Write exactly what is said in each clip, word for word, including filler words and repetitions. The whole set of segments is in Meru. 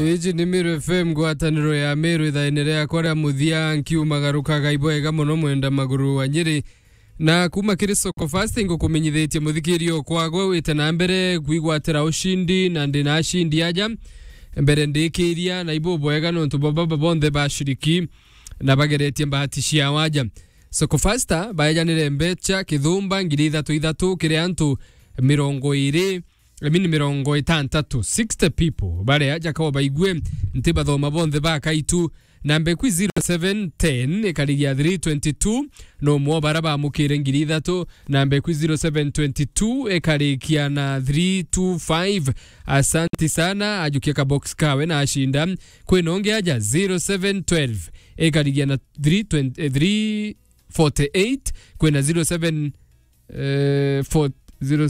Iji ni Meru F M, ngwataniro ya Meru, ithaene riakwa ria muthia, nkiumagarukaga ibwega mono mwenda maguru wa Nyeri. Na kuma kiri Soko Fast, ngukumenyithitie muthikirio kwagwe wite na mbere kwigwatira ushindi, na ndi na ashindi aja mbere ndikiria, na ibu bwega nontu bwa baba bonthe bashiriki na bageretie mbahati ciao aja. Soko Fasta baejanire mbecha kithumba ngiri ithatu ithatu kiri antu mirongo iri, I mean, mirongo itantatu, sixty people, baria jakao baigue nti bathoma bonthe bakaitu. Namba ikwi zero seven ten ikarigia three twenty two, no mwo bara bamukire ngiri ithatu. Namba ikwi zero seven twenty two ikarikia na three two five. Asanti sana, ajukia ka box kawe na ashinda. Kwina ungi aja zero seven twelve ikarigia na three twenty, eh, three forty eight, kwina zero seven, eh, four, zero,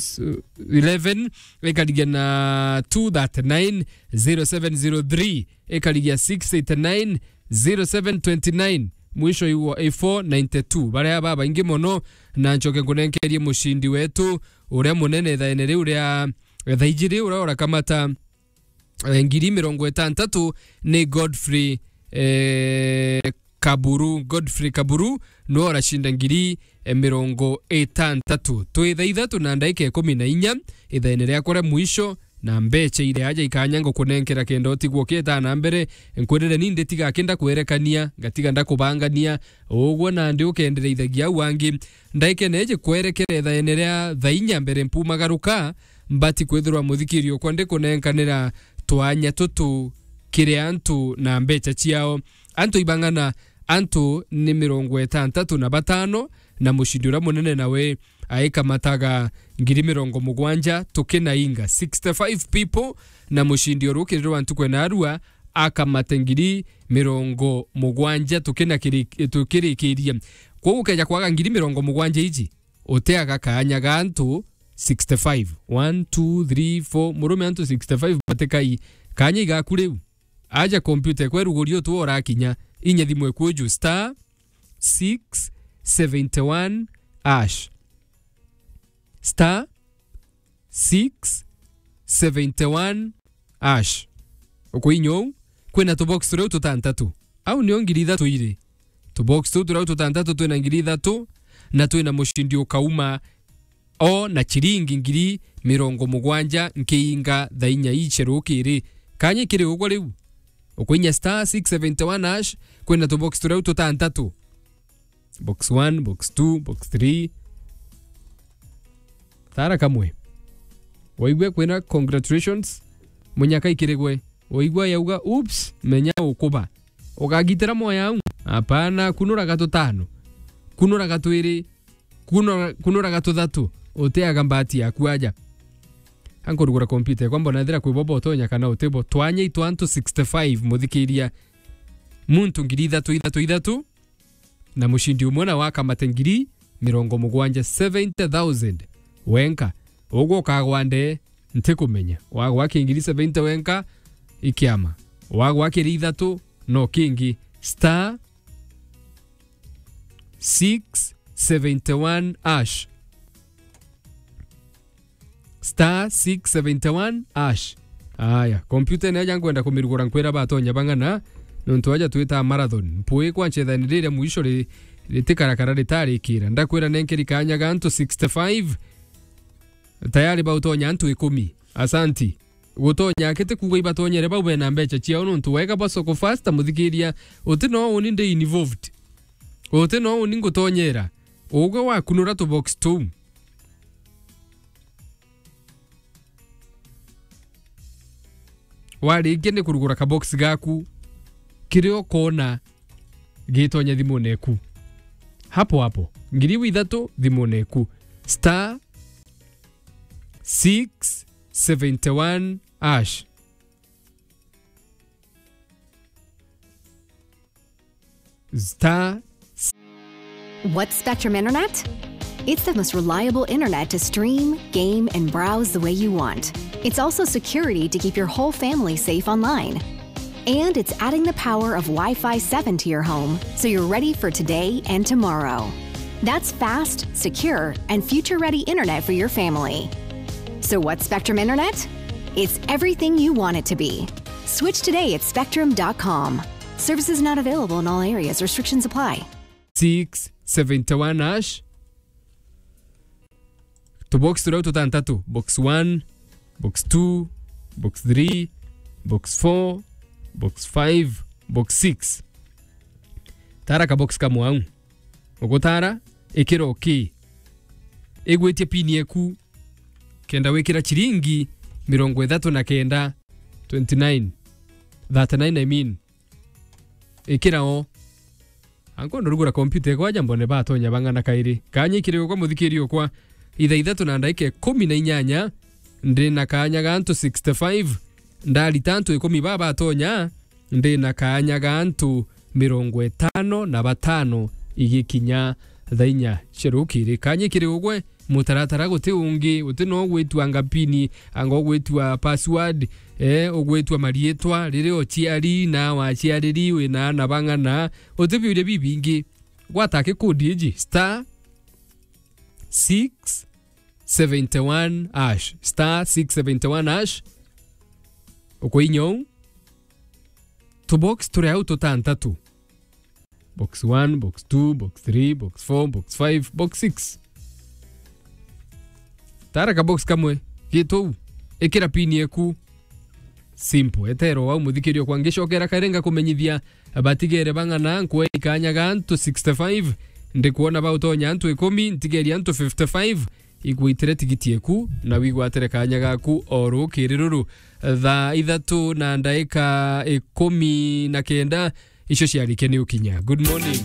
eleven, ikarigia na two thirty nine, zero seven zero three ikarigia six eighty nine, zero seven twenty nine, mwisho iwo i four ninety two. Baria babaingi mono, na ncoke nkunenkerie mushindi wetu uria munene ithaene riu ria thaa ijiri, uria urakamata eh, ngiri mirongo itantatu ni Godfrey, eh, Kaburu. Godfrey Kaburu niwe uracinda ngiri, eh, mirongo itantatu. Twi thaa ithatu na ndaika ikumi na inya, ithaene riakwa ria mwisho, na mbecha iria aja ikanya ngukunenkera kenda utigwo ukietaa na mbere. Nkwirire ni nditiga kenda kwerekania, ngatiga ndakubangania. Uguo nandi ukendereithagia au angi. Ndaikene iji kwerekera ithaene ria thaa inya mbere mpumagaruka, mbati kwithirwa muthikirio kwa ndikunenkanira twanya tutu kiri antu na mbecha ciao. Antu ibang'ana, antu ni mirongo itantatu na batano, na mucindi uria munene nawe aikamataga ngiri mirongo mugwanja tukinainga sixty five people, na mucindi urukirirwa ntuku ya narua akamate ngiri mirongo mugwanja tukina kiri-, tukirikiria. Kwoguo ukeja kwaga ngiri mirongo mugwanja iji, uteaga kaanya ga antu sixty five. One, two, three, four, murume antu sixty five batikai. Kaanya igaku riu. Aja kompyuta ekweruguria utu urakinya, inya thimu eku uju star six seventy one hash. Star six seventy one hash. Ukuinya uu, kwina tubox turia tutantatu. Au nio ngiri ithatu iri. Tubox tuu turia tutantatu twina ngiri ithatu, na twina mucindi ukauma o na chiringi ngiri mirongo mugwanja nkiinga thaa inya icia rukiri. Kaanya kiri ugwe riu. Ukuinya star six seventy one hash, kwina tubox turia tutantatu. Box one, box two, box three. Thara kamwe. Waigua kwina congratulations, munyaka ikirigwe. Waigua yauga, "Oops," menya ukuba. Ukagitira moyo au? Hapana, kunura gatutano. Kunura gatwiri. Kunura, kunura gatuthatu. Uteaga mbati yaku aja. Ankurugura kompyuta yakwa, mbona ethira kwi bobo utonya kana utibo. Twanya itwa antu sixty five, muthikiria. Muntu ngiri ithatu, ithatu, ithatu. Na mucindi umwe na wakamate ngiri mirongo mugwanja, seventy thousand wenka. Ugwe ukagwa nde, ntikumenya. Wagwa ki ngiri seventy wenka, ikiama. Wagwa kiri ithatu, no kingi. Star six seventy one hash. Star six seventy one hash. Aya, kompyuta ino aja nkwenda kumirugura nkwira batonya bang'ana, nontu aja twita marathon. Mpui kwa nchethani riria mwisho ri-, ritikarakara ritarikira. Ndakwira nenkeri kanya ga antu sixty five, tayari bautonya antu ikumi. Asanti. Gutonya akiti kuuga ibatonyere bau bena mbecha ciao, nontu wega bwa Soko Fasta, muthikiria, uti no uni ndi involved. Uti no uni ngutonyera. Ugwe wakunura tubox tuu. Warikia ni kurugura kabox gaku, kiria ukona gitonya thimune eku. Hapo hapo, ngiri ithatu thimune eku. Star six seventy one hash. Star. What's Spectrum Internet? It's the most reliable internet to stream, game, and browse the way you want. It's also security to keep your whole family safe online. And it's adding the power of Wi-Fi seven to your home, so you're ready for today and tomorrow. That's fast, secure, and future-ready internet for your family. So what's Spectrum Internet? It's everything you want it to be. Switch today at spectrum dot com. Services not available in all areas. Restrictions apply. Six seventy-one hash. Tubox turia tutantatu, box one, box two, box three, box four, box five, box six. Tara ka box kamwe au. Ugutara, ikira okay. Igwitie pin yeku, kenda wikira chiringi mirongo ithatu na kenda, twenty-nine, thirty-nine, I mean. Ikira o. Ankondo rugura kompyuta ekwa aja mbone batonya bang'ana kairi. Kanya ikiri ukwa muthikiri ukwa. Ithaa ithatu na ndaika ikumi na inyanya, ndi na kanya ga antu sixty-five. Ndarita antu ikumi baba batonya, ndi na kanya ga antu mirongo itano na batano igikinya thaa inya cia rukiri. Kanya ikiri ugwe, mutaratara guti ungi, guti no ugwitua ngapini, anga ugwitua password, eh, ugwitua marietwa, riri uciari na waciariri, wina ana bang'ana, uti biuria bibingi. Gwata kikudi iji, star six seventy-one hash, star six seventy-one hash. Ukuinya uu, tubox turi au tutantatu. Box one, box two, box three, box four, box five, box six. Tara ka box kamwe, gitu u, ikira pin yeku. Simple, etero wau muthikirio kwa ngicokera kairi ngakumenyithia batigere bang'ana, nkwe ikanya ga antu sixty-five, ndikwona bautonya antu ikumi, ntigeria antu fifty-five, igwitire tigiti eku, na wigwatire kanya gaku o rukiri ruru. Thaa ithatu na ndaika ikumi na kenda, icio ciarike ni ukinya. Good morning.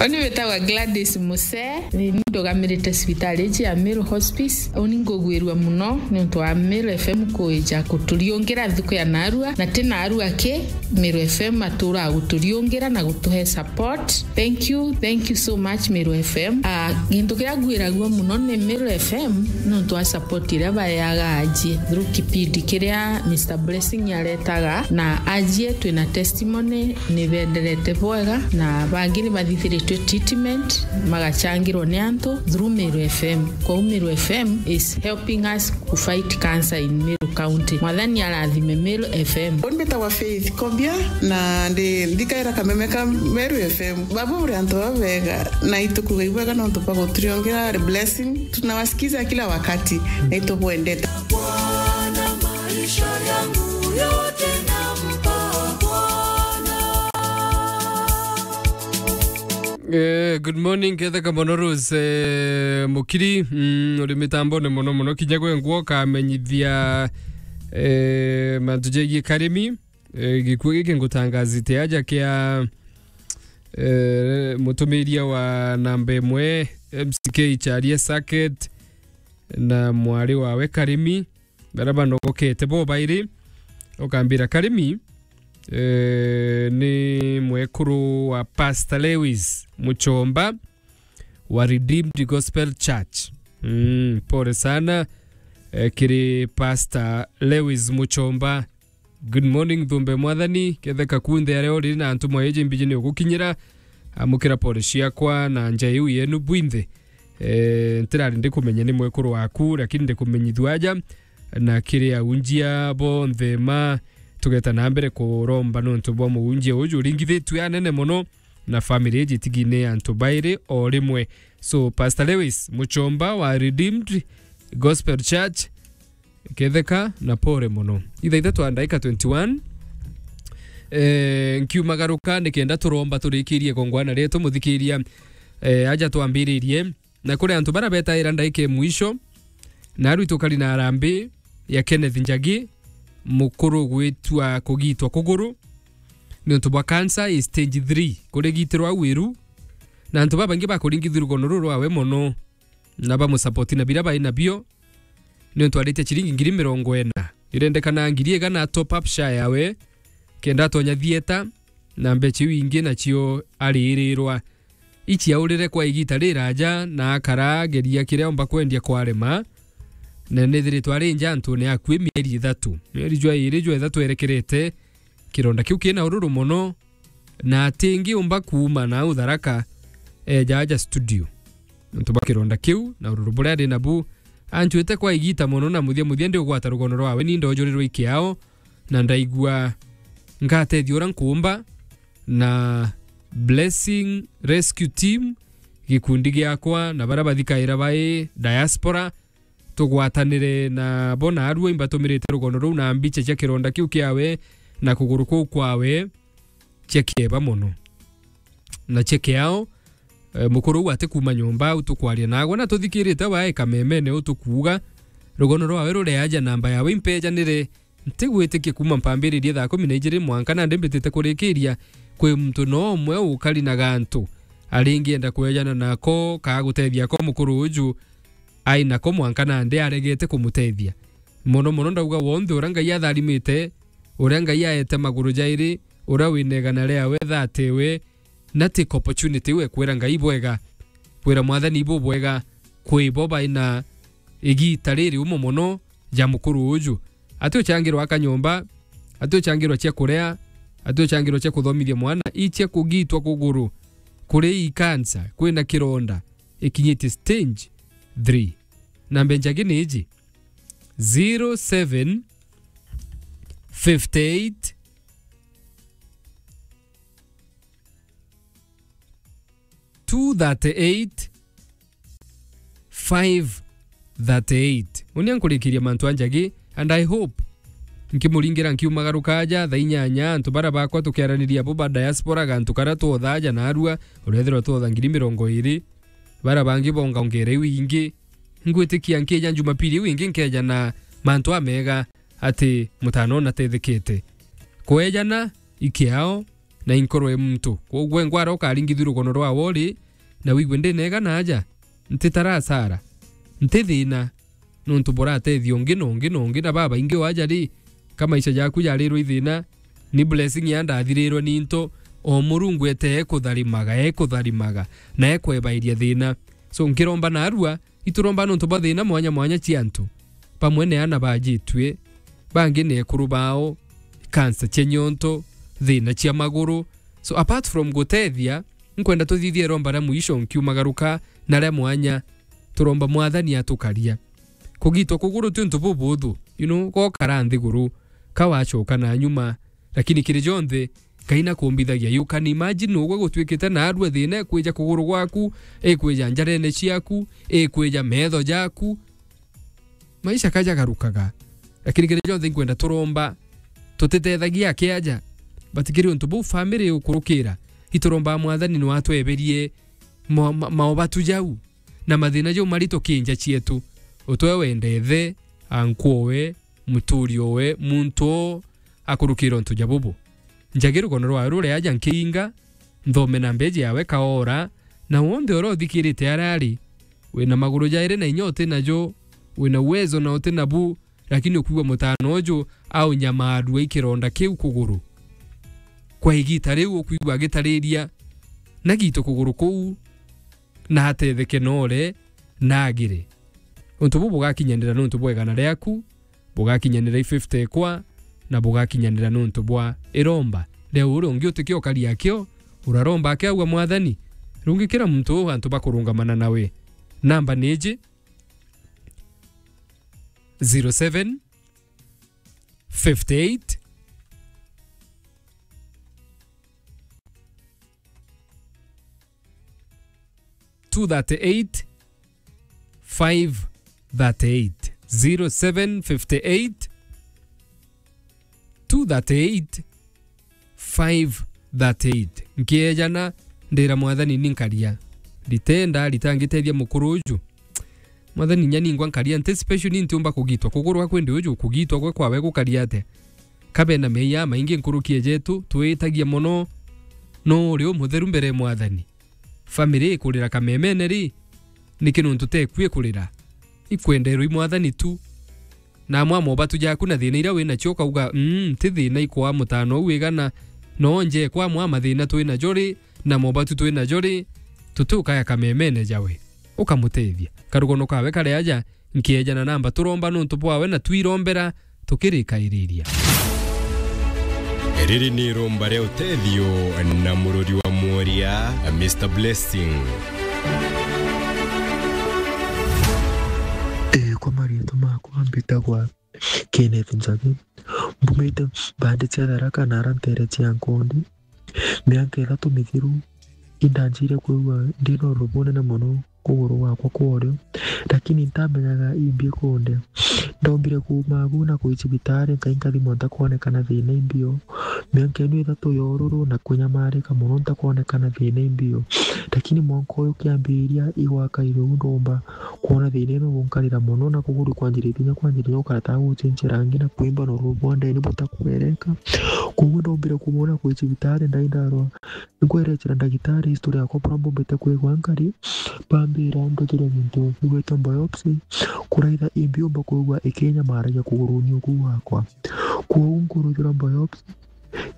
Oni witagwa Gladys Muse, ni ndugamirite cibitari iji ya Meru Hospice. Uni ngugwirua muno ni untu wa Meru F M kuija kuturiungira thuku ya narua, na ti narua ki, Meru F M atura guturiungira na gutuhe support. Thank you, thank you so much, Meru F M. Ah, gintu kiria ngwiragua muno ni Meru F M, nontu wa support iria baeaga ajie through kipindi kiria Mister Blessing aretaga, na ajie twina testimony ni benderete bwega, na bangi ni bathithiritwe treatment, magachangirwa ni antu through Meru F M. Kwou Meru F M is helping us to fight cancer in Meru County. Mwathani arathime Meru F M. Uni mbitagwa Faith Kobia, na ndi ndikaira kameme ka Meru F M. Baba uri antu baba bega, na itukuga ibwega nontu bwa guturiongera blessing. Tunawasikiza kila wakati, na itubwendete. Bwana, maisha yangu yote nampa Bwana. Eh, good morning, Ketheka mono Rose, eh, Mukiri, mm, uri mitambone mono mono, kinya gwe ngwo kamenyithia, eh, mantu jegie karimi, eh, gikuo giki ngutangazite aja kia, eh, mutumiria wa namba imwe, M C K Charia Saket, na mwari wawe Karimi, baria banogokete bo bairi, ukambira Karimi, eh, ni mwekuru wa Pastor Lewis Muchomba wa Redeemed Gospel Church. Mm, pole sana, eh, kiri Pastor Lewis Muchomba. Good morning, thumbe mwathani, ketheka kunthe aria uri na ntumwa iji mbiji ni ugukinyira. Amukira pole ciakwa na nja iu yenu bwinthe. Eh, ntirari ndikumenya ni mwekuru waku, lakini ndikumenyithua aja na kiri aunjia bonthe ma tugeta na mbere kuromba nontu bwa muunjia uju uringithitue anene mono na family iji tigine antu bairi o rimwe. So, Pastor Lewis Muchomba wa Redeemed Gospel Church, ketheka na pore mono. Ithaa ithatu na ndaika twenty-one. Eh, nkiumagaruka nikenda turomba turikirie gongwana rietu muthikiria. Eh, aja twambiririe. Na kuri antu bara betaira ndaika ya mwisho, na aru itukari na arambi ya Kenneth Njagi, mukuru gwitwa kugitwa kuguru, ni untu bwa cancer ya stage three, kurigitirwa au iru, na antu babaingi bakuringithirwa rugono ruru rwawe mono, na bamusapoti na bira bai nabio, ni untu aritie chiringi ngiri mirongo ina. Irendekana ngiri igana top up sha yawe, kenda atonya thieta, na mbecha iu ingi nacio aririrwa. Ici aurire kwa igita riraja, na akara ageria kiria omba kwendia kwarema, na nithiritwe ari nja antune akui mieri ithatu. Mieri jwa iri jwa ithatu erekerete, kironda kiu kina ururu mono, na atingiumba kuuma na au Tharaka eja aja studio. Nontu bwa kironda kiu na ururu buria ari nabu, Anchwite kwa igita mono, na muthia muthia ndi ugwata rugono rwawe, ni ndojurirwe ikiao, na ndaigua ngatethia uria nkuumba, na Blessing Rescue Team, gikundi giakwa, na baria bathikaira bai diaspora, tugwatanire na bo naarua, imbatumirite rugono ruu na mbicha cia kironda kiu kiawe na kuguru kuu kwawe cia kieba mono. Na cia kiao, eh, mukuru uu ati kuuma nyomba au tukwaria nagwe, na tuthikirite wae kamemene u tukuuga, rugono rwawe rureaja, namba yawe impejanire, ntigwitikia kuuma mpambiririe thaa kumi na ijiri mwanka nandi mbitite kurikiria, kwi muntu no umwe ukari na gantu aringienda kwejana nako kaa gutethia ko mukuru uju ai nako mwanka nandi aregete kumutethia. Mono mono ndauga wonthe uria Ngai atharimite, uria Ngai aete maguru jairi, uria wina igana riawe thate we, na take opportunity iu ekwira Ngai bwega, kwira Mwathani bubwega, kwi bo baina igita riri umo mono ja mukuru uju. Ati uchangirwa akanyomba, ati uchangirwa cia kuria, ati uchangirwa cia kuthomithia mwana, i cia kugitwa kuguru kuri i cancer, kwina kironda, ikinyitie stage three. Namba njagi ni iji, zero seven fifty eight, two thirty eight, five thirty eight. Unia nkurikiria mantu a njagi, and I hope nkimuringira nkiumagaruka aja thaa inyanya, antu bara bakwa tukiaraniria bo ba diaspora, gantu karia twothaja narua, urethirwa twotha ngiri mirongo iri, bara bangi bonga ongere iu ingi. Ngwitikia nkija Jumapili iu ingi nkeja na mantu amega ati mutano natethekete. Kwejana ikiao na inkorwe muntu. Kwoguo engwara ukaringithua rugono rwawe uri, na wigue ndinega na aja, ntitarasara, nti thina, nontu buratethia ungi na ungi na ungi na babaingi o aja ri, ka maisha jaku jarirwe ithina, ni blessing ya ndathirirwe ni into, o Murungu ete ekutharimaga, ekutharimaga, na ekwebairia thina. So, nkiromba narua, ituromba nontu bwa thina mwanya mwanya cia antu. Bamwe ni ana bajitue, bangi ni ekuru bao, kansa cia nyonto, thina cia maguru. So, apart from gutethia, nkwenda tuthithie iromba ria mwisho nkiumagaruka na ria mwanya, turomba Mwathani atukaria. Kugitwa kuguru ti untu bubuthu, you know, gokara nthiguru, ka wacoka na nyuma, lakini kiri jonthe, Ngai nakumbithagia. You can imagine ugwe gutwikite narua thina, ikwija kuguru gwaku, ikwija njarene ciaku, ikwija metho jaku. Maisha kajagarukaga. Lakini kiri jonthe nkwenda turomba, tutitethagia akiaja. But kiri untu buu family ukurukira, ituromba Mwathani no atweberie ma-, ma-, maobatu jau na mathina jau marito kinja cietu. Utwe wende ithe, ankwowe, muturi owe, muntu o akurukira untu ja bubu. Njagi rugono rwawe ruria aja nkiinga, nthome na mbeji yawe kaora, na wonthe uria uthikirite aria ari, wina maguru jairi na inya uti najo, wina uwezo na uti nabu, lakini ukwigua mutano uju aunyamaarua i kironda kiu kuguru. Kwa igita riu ukwigua agitariria, na gitu kuguru kuu, na atetheke nore, na agire. Untu buu bugakinyanira nontu bwa igana riaku, bugakinyanira i fifty ekwa, na bugakinyanira nontu bwa iromba ria uria ungi utikio karia akio, uraromba akiauga, "Mwathani, rungikira muntu uu antu bakurungamana nawe." Namba ni iji, zero seven, fifty eight, two thirty eight, five thirty eight. Zero seven fifty eight, two thirty eight, five thirty eight. Nkiejana, ndira Mwathani ni nkaria. Nditenda, rita ngitethia mukuru uju. Mwathani, nya ningwa nkaria, nti special, ni ntiumba kugitwa. Kugurwa kwendi uju, kugitwa gwe kwawe gukaria atia? Kabe na meeyia maingi nkuruki ejetu, twitagia mono. No uri umutheru mbere ya Mwathani. Family ikurira kamemene ri, niki nontu tekwi ikurira? Ikwenderwa i Mwathani tu. Na amwe a mobatu jaku na thina iria winacio ukauga, "Mm, ti thina ikwaa mutano uu wigana, no nje kwa amwe a mathina twinajo ri, na mobatu twinajo ri, tutiukaya kamemene jawe." Ukamutethia. Karugono kawe kari aja, nkiejana namba turomba nontu bwawe na twirombera tukirikairiria. Riri ni iromba ria utethio na murori wa mworia, Mister Blessing. Eh, kwa mbitagwa Kenneth Njagi. Mbumite mbandi cia Tharaka na ara ntere cia Nkondi. Mianka ithatu mithiru, indanjire kwigua ndina ururu bunene mono kuguru gwakwa kwa urio, lakini ntamenyaga imbi ikundia. Ndombire kuuma agu na kwi cibitari, nkai nkathimwa ntakwonekana thina imbio. Mianka ino ithatu ya ururu na kunyamarika mono ntakwonekana thina imbio. Lakini mwanka uyu kiambiria igwaka irio ndomba kwona thina ino gunkarira mono na kuguru kwanjiritie kinya kwanjiritie gukara ta gucenjia rangi na kwimba na ururu bwa ndeni butakwereka. Koguo ndombire kuuma na kwi cibitari ndai ndarwa. Nkwerecera ndagitari history yakwa buria mbumbite kwigua nkari, bambira ndutire gintu gigwitwa biopsy, kuraitha imbi umba kwigua ikinyamaragia kuguruni uku gwakwa. Kwou nkuruthirwa biopsy,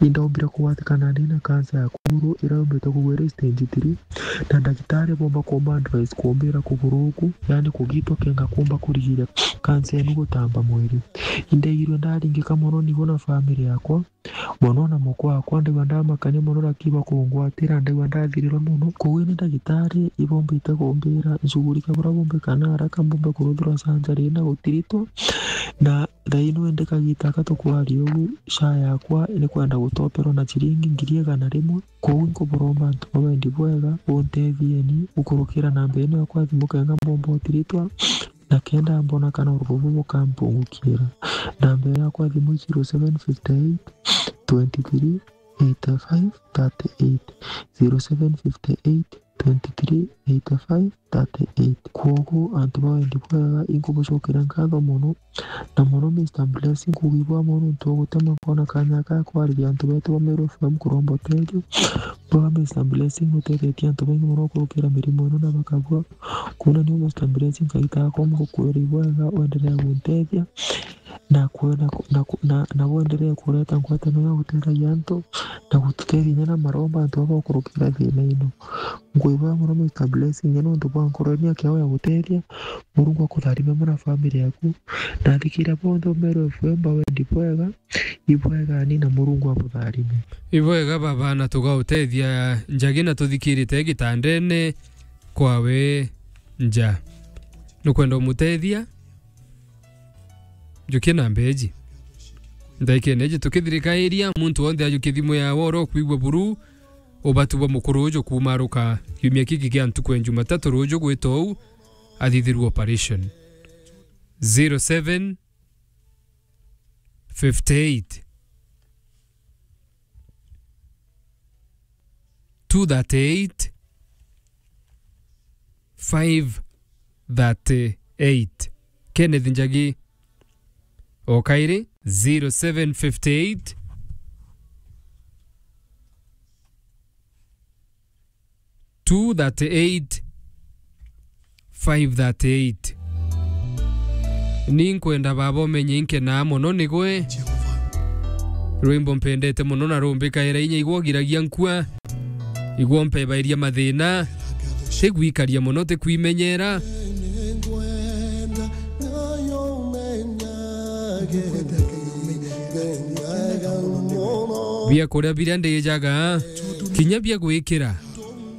indaombire kugwatikana ndi na cancer ya kuguru iria yumbite kugwa iri stage three, na ndagitari bomba kumba advice kumbira kuguru uku, yani kugitwa kenga kumba kurigiria cancer inu gutamba mwiri. Indaigirwe ndaringika mono nigo na family yakwa, mono na mukwa wakwa, ndaigua ndamakania mono, lakini bakungwatira, ndaigua ndathirirwa mono. Koguo ni ndagitari ibombite kumbira nshughulikia buria bumbikana haraka mbumbe kuruthirwa surgery na gutiritwa, na thaino indi kagita aka tukwaria ugu, SHA yakwa ni kwenda gutoperwa na ciringi ngiri igana rimwe. Koguo nkuburomba antu ba wendi bwega, buntethieni gukurukira namba ino yakwa ya thimu kenga mbomba utiritwa, na kenda mbona kana ururu bubu bukampungukira. Namba yakwa ya thimu i zero seven fifty eight, twenty three, eighty five, thirty eight, zero seven fifty eight, twenty three, eighty five, thirty eight. Kwogu antu ba wendi bwega, inkubucokera nkatho mono, na mono Mister Blessing, kugibwa mono nontu bwa gutema kwona kanya ga kwariria antu betu ba Meru F M kuromba uteethio. Bwa Mister Blessing, nutethetie antu baingi mono kurukira mirimo ino na bakabua. Kwona niu Mister Blessing, Ngai takomba gukwira ibwega, wendelee guntethia, na kwe-, na ku-, na ku-, na, na wendelee kureta ngwataniro ya gutetheria antu, na gututethia inya na maromba antu baba bakurukira thina ino. Nkwibwega mono Mister Blessing, inya nontu bwa nkoro ino yaku ya gutethia. Murungu akutharime mono na family yaku. Na athikira bonthe ba Meru F M ba wendi bwega, ibwega ni na Murungu abutharime. Ibwega baba, na tugautethia Njagi na tuthikirite gitandene kwawe nja. Nukwenda umutethia? Njukie na mbeji. Ndaikene iji tukithirikairia, muntu wonthe ajukie thimu yawe oro kwigua buru, ubatu bwa mukuru uju kumaruka kiumia kiki kia ntuku ya Jumatatu ruju gwita uu, athithirwe operation. Zero seven fifty eight, two thirty eight, five thirty eight. Kenneth Njagi, o kairi, zero seven fifty eight, two thirty eight, five thirty eight. Ni nkwenda baba umenye inkenaa mono nigwe. Rwimbo mpendete mono na rumbikaira inya igwo giragia nkua. Igwo mpebairia mathina. Tigwikaria mono, tikwimenyera. Bia kuria biria ndijaga, kinya bia gwikira.